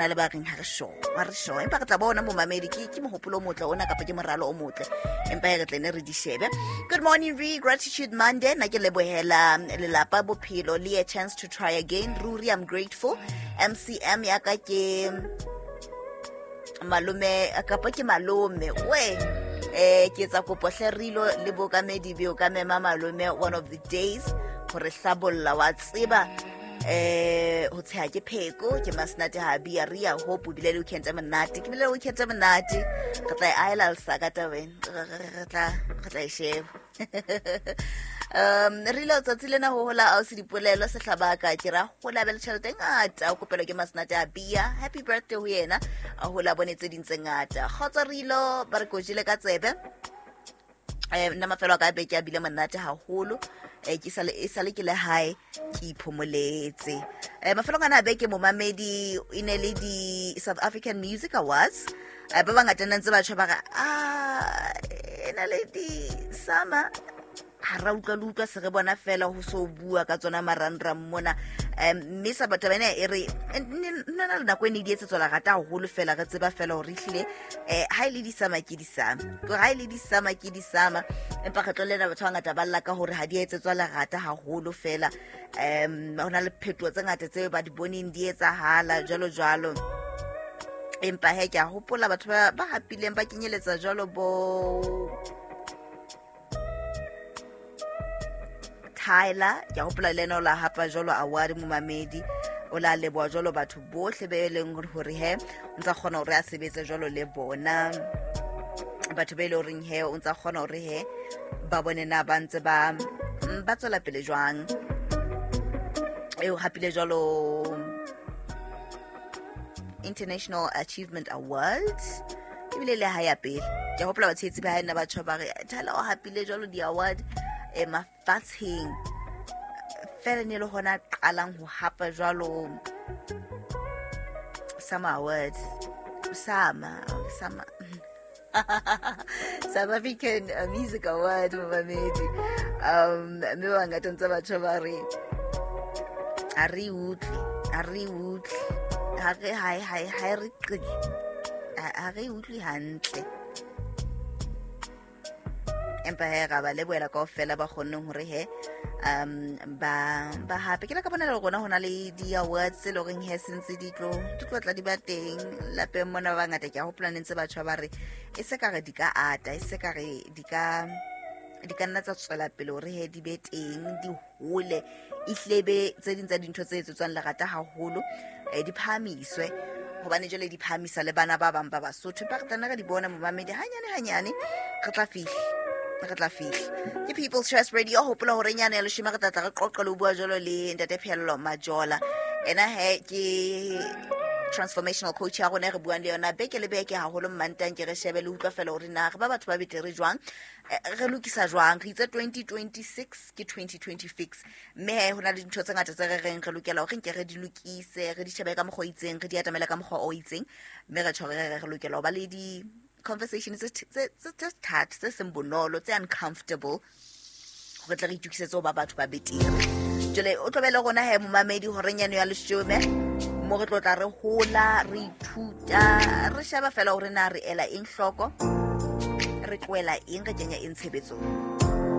Na le ba reng ha re sure, ha re sure, empa re tla bona momamedi, ke mohopolo o motle ona kapa ke moralo o motle, empa e re tle ne re di shebe. Good morning, re Gratitude Monday. Nna ke lebohela lelapa, bophelo le a chance to try again. Ruri I'm grateful. MCM ya ka ke malome kapa ke malome we, ke etsa kopo hle rilo le bokamedi beo ka mema malome one of the days gore hlabolla wa tseba ho tsheha ke pheko ke masenate ha bia re ya hope o bile le weekend e monate, ke bile le weekend e monate. Re tla e aela lesaka tabeng, re tla e sheba. Re ile tsatsi lena ho hola ausi Dipolelo Sehlabaka, ke ra hola be le tjhelete e ngata, o kopelwa ke masenate a bia. Happy birthday ho yena, a hola bone tse ding tse ngata. Kgotsa rilo ba re kojile ka tsebe. Nna mafelo a ka beke a bile monate haholo. Ke sale e sale ke le hae, ke iphomoletse. Mafelong ana a beke, momamedi, e ne le di South African Music Awards. Ba bangata nna ntse batjha ba re a e na le di sama ha ra utlwa le utlwa se re bona fela ho so bua ka tsona marangrang mona. Mme sa batho bana e re nna na le nako e ne di etsetswa lerata haholo fela, re tseba fela hore ehlile ha e le di-SAMA ke di-SAMA, ke ha e le di-SAMA ke di-SAMA, empa kgetlo lena batho ba bangata ba lla ka hore ha di etsetswa lerata haholo fela. Ho na le phetoho tse ngata tse ba di boneng di etsahala jwalo jwalo, empa he ke a hopola batho ba hapileng ba kenyeletsa jwalo bo Tyler. Ke a hopola le ena o la hapa jwalo award, momamedi. O la leboha jwalo batho bohle be leng hore he o ntsa kgona hore a sebetse jwalo le bona, batho be e le horeng he o ntsa kgona hore he ba bone na ba ntse ba tswela pele jwang. Eo hapile jwalo International Achievement Award, ebile le ha ya pele. Ke hopola batshehetsi ba hae nna batho ba re Tyler o hapile jwalo di-award mafatsheng fela, ne le hona qalang ho hapa jwalo SAMA Awards, SAMA South African Music Award, momamedi. Mme ba bangata ntse batho ba re ha re utlwe, ha re utlwe, ha re ha re qi, ha re utlwe hantle, empa he ra ba lebohela kaofela ba kgonneng hore he ba hape. Ke la ka bona le rona ho na le di-awards tse leng horeng he sentse di tlo tla di ba teng lapeng mona. Ba bangata ke a hopola ne ntse batho ba re e se ka re di ka ata, e se ka re di ka nna tsa tswela pele hore he di be teng, di hole, ehlile be tse ding tsa dintho tse etsetswang lerata haholo, di phahamiswe hobane jwale di phahamisa le bana ba bang ba Basotho. Empa re tla nna re di bona, momamedi, hanyane hanyane re tla fihla, re tla fihla. Ke People's Choice Radio. Hopola hore nyane ya leshome re tla tla re qoqa le ho bua jwalo le ntate Phello Majola. Ena he ke transformational coach ya rona e re buang le yona beke le beke, haholo Mmantang. Ke re shebe le utlwa fela hore na re ba batho ba betere jwang, re lokisa jwang. Re itse 2026 ke 2026, mme he ho na le dintho tse ngata tse re reng re lokela hore nke re di lokise, re di shebe ka mokgwa o itseng, re di atamele ka mokgwa o itseng, mme re tjho re lokela ho ba le di conversation tse thata, tse seng bonolo, tse uncomfortable, hore tle re itukisetse ho ba batho ba betere. Jwale o tlo be le rona he, momamedi, horeng yano ya leshome mo re tlo tla re hola, re ithuta, re sheba fela hore na re ela eng hloko, re tlohela eng, re kenya eng tshebetsong.